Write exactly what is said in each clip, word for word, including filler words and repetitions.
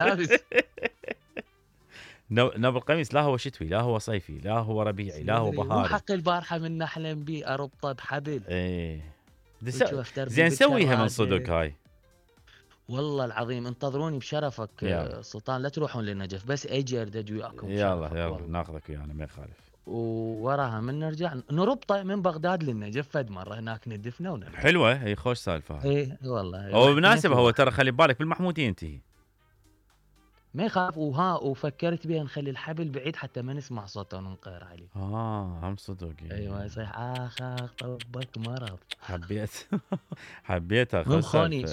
لابس نوب القميص لا هو شتوي لا هو صيفي لا هو ربيعي لا هو بهاري. مو حق البارحه من احلم بيه اربطه بحبل. ايه زين سويها من صدق هاي. والله العظيم انتظروني بشرفك يلا. سلطان لا تروحون للنجف بس اجي اردد وياكم يلا يلا ناخذك ويانا ما يخالف. ووراها من نرجع نربطه من بغداد للنجف فد مره هناك ندفنا ونرجع. حلوه هي خوش سالفه هاي. ايه والله هو بمناسبه هو ترى خلي بالك بالمحموديه ينتهي. ما يخاف وها وفكرت بها نخلي الحبل بعيد حتى ما نسمع صوته وننقهر عليه. اه هم صدق. ايوه يصيح اخ اخ طبك مرض. حبيت حبيتها خوني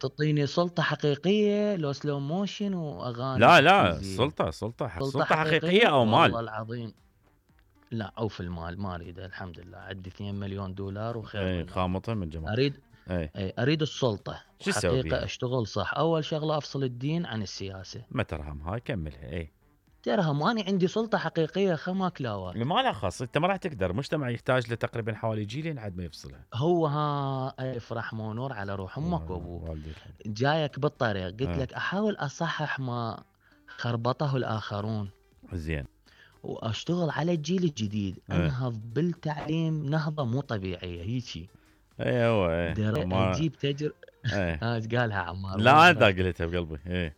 تعطيني سلطه حقيقيه لو سلو موشن واغاني. لا لا سلطه سلطه سلطه, سلطة حقيقيه, حقيقية او مال. والله العظيم لا او في المال ما اريده الحمد لله عندي اثنين مليون دولار وخير. اي خامطه من جمال. اريد اي, أي اريد السلطه حقيقه اشتغل صح. اول شغله افصل الدين عن السياسه. ما ترهم هاي كملها. اي ترهم وانا عندي سلطه حقيقيه خما كلاوات. ما لا خاص انت ما راح تقدر. مجتمع يحتاج له تقريبا حوالي جيلين عاد ما يفصلها. هو ها الف رحمه ونور على روح امك وابوك. جايك بالطريق قلت آه. لك احاول اصحح ما خربطه الاخرون. زين واشتغل على الجيل الجديد. آه. انهض بالتعليم نهضه مو طبيعيه هيجي. اي هو اي ما... اجيب تجر ها ايش قالها عمار؟ لا انت قلتها بقلبي. اي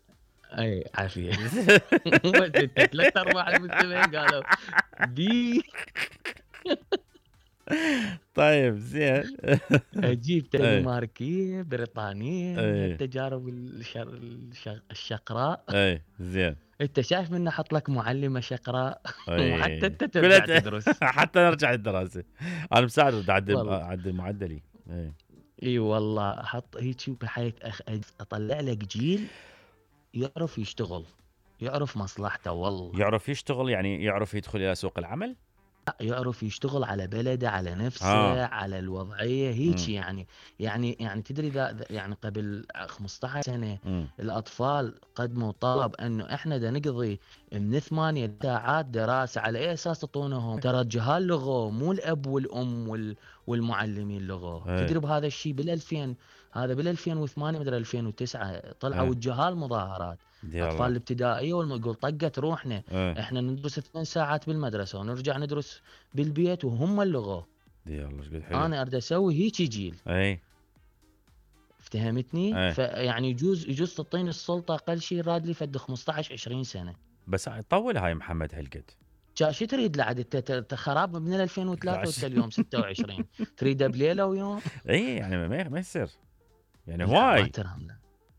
اي عافيه. ثلاث ارباع المستمعين قالوا دي. طيب زين. اجيب دنماركيه بريطانيه من التجارب الشر... الشقراء. اي زين. انت شايف من احط لك معلمه شقراء وحتى انت ترجع تدرس. حتى نرجع للدراسه. انا مساعد اعدل اعدل معدلي. اي اي والله احط هيك بحيث أخ... اطلع لك جيل يعرف يشتغل يعرف مصلحته. والله يعرف يشتغل يعني يعرف يدخل الى سوق العمل. يعرف يشتغل على بلده على نفسه آه. على الوضعيه هيك. يعني يعني يعني تدري ذا يعني قبل خمسة عشر سنه م. الاطفال قدموا طلب انه احنا دا نقضي من ثمانية ساعات دراسه على اي اساس تعطونهم؟ ترى الجهال لغوا مو الاب والام وال والمعلمين لغوا. تدري بهذا الشيء بالألفين هذا بالألفين وثمانية مدري ألفين وتسعة طلعوا الجهال مظاهرات. اطفال الابتدائيه والمقول طقت روحنا. اه. احنا ندرس ثمان ساعات بالمدرسه ونرجع ندرس بالبيت وهم اللغوا. يلا ايش قد حلو. انا اريد اسوي هيك جيل. اي افتهمتني؟ فيعني يجوز يجوز تعطيني السلطه اقل شيء راد لي فد خمسة عشر عشرين سنه. بس طول هاي محمد هالقد. شو تريد لعد انت خراب من ألفين وثلاثة وانت اليوم ستة وعشرين تريده بليله ويوم. اي يعني ما ما يصير يعني هواي.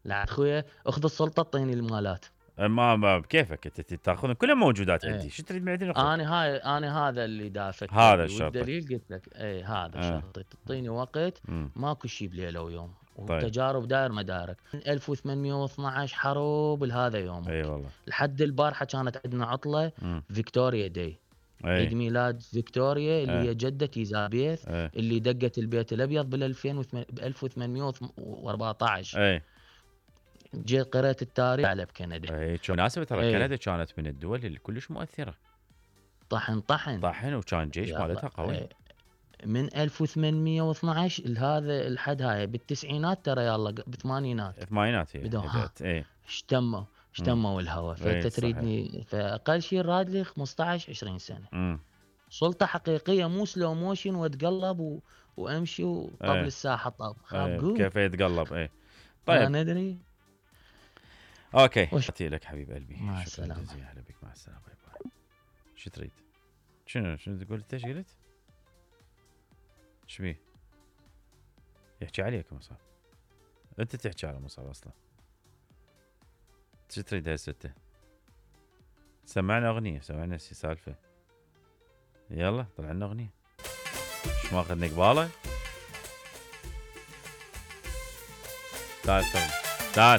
لا اخويا اخذ السلطه اعطيني المالات. ما ما بكيفك انت تاخذ كلها موجودات عندي. شو تريد بعدين؟ انا هاي انا هذا اللي دافت. هذا الشرط. والدليل قلت لك اي هذا آه. شرطي تعطيني وقت. م. ماكو شيء بليله ويوم. والتجارب طيب. داير مدارك. ألف وثمانمئة واثناشر حروب لهذا يوم. اي والله. لحد البارحه كانت عندنا عطله م. فيكتوريا داي. عيد ميلاد فيكتوريا اللي هي جدة إيزابيث أي. اللي دقت البيت الأبيض بألف وثمانمئة وأربعة عشر. اي جيت قرأت التاريخ على بكندا. اي مناسبة ترى كندا كانت من الدول اللي كلش مؤثرة. طحن طحن طحن وكان جيش مالتها قوي. اي. من ألف وثمانمئة واثناشر لهذا الحد هاي بالتسعينات ترى يلا بالثمانينات. الثمانينات هي. اي اشتموا اشتموا الهواء. فانت تريدني فاقل شيء راد لي خمسة عشر عشرين سنه. م. سلطه حقيقيه مو سلو موشن واتقلب و... وامشي وطبل ايه. الساحه طب ايه. كيف يتقلب. اي طيب ما ندري. اوكي اتي لك حبيب قلبي. مع السلامه. اهلا بك. مع السلامه. باي باي. شو تريد؟ شنو شنو تقول؟ انت ايش قلت؟ ايش بيه؟ يحكي عليك مصعب. انت تحكي على مصعب اصلا. شو تريد هسه انت؟ سمعنا اغنيه. سمعنا سالفه. يلا طلع لنا اغنيه. مش ماخذ قباله. تعال تعال